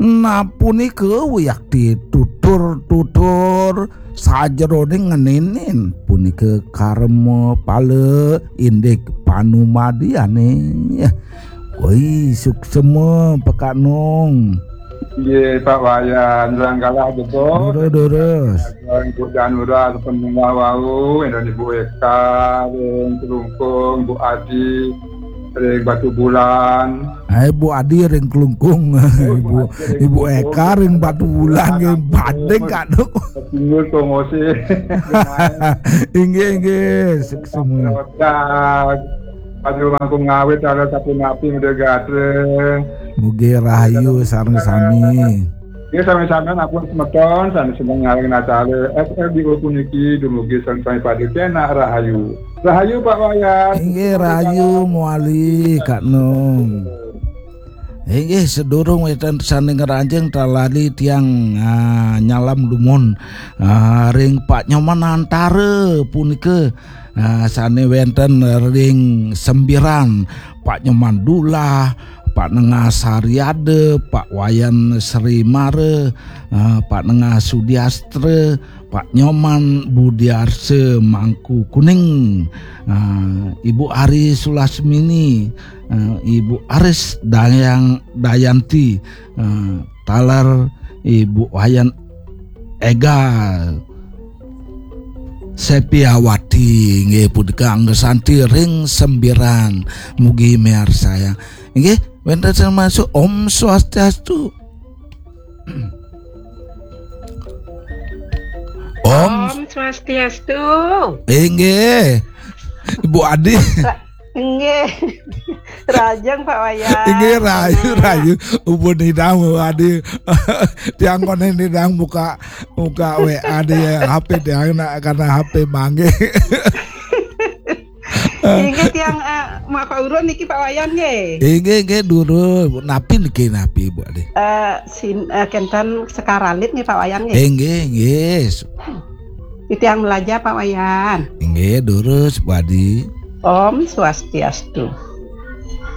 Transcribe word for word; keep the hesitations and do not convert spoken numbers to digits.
Nah, punika wiakti tutur-tutur sajeroning ngeninin punika karma pala indik panumadiane. Woi, suksema Pak Nong. Nggih, Pak Wayan, Ranggalah Jebos. Durus, durus. Ibu Danura, sepenunggal wau, Indah Ibu Eka, ring Kelungkung, Bu Adi, ring Batu Bulan. Hai, Bu Adi ring Kelungkung. Ibu, Ibu Eka ring Batu Bulan, nggih, banding, Kak Nong. Singgul Tongose. Inggih, inggih, suksema. Roda. Padu langkung ngawit, ala sapunapi, Muda Gatra. Mugi rahayu sareng sami. Nggih, sami-sami ampun semeton, sami seneng ngaring acara S R D O puniki, dumugi sareng sami pada kenak rahayu. Rahayu, Pak Wayan. Inggih, rahayu mawali, Kak Nong. Inggih, sedurung wénten sané ngranjing, tan lali tiang, ah, nyalam dumun, ah, ring Pak Nyoman Antara punika, ah, sané wénten ring Sembiran, Pak Nyoman Dulah, Pak Nengah Sariada, Pak Wayan Sri Mara, ah, Pak Nengah Sudiastra, Pak Nyoman Budiarsa Mangku Kuning, ah, Ibu Ari Sulasmini, ah, Ibu Aris Dayang Dayanti, ah, taler Ibu Wayan Ega Sepiawati, nggih, punika angga santi ring Sembiran, mugi miarsayang. Nggih, wénten sing masuk. Om Swastiastu. Om. Om Swastiastu. Inggih. Ibu Adi. Ra-, inggih. Rahajeng, Pak Wayan. Inggih, rahayu, rahayu. Upun nidang, Bu Adi. Tiang koné nidang buka, buka W A di H P tiang, nak, karena H P manggih. Inggih, tiang, eh, maka urun niki, Pak Wayan, nggih. Inggih, inggih, durus. Napi niki, napi, Bu Adi? Eh, sin-, eh, kénten sekar alit nggih, Pak Wayan, nggih. Inggih, inggih. Titiang malaja, Pak Wayan. Inggih, durus, Bu Adi. Om Swastiastu.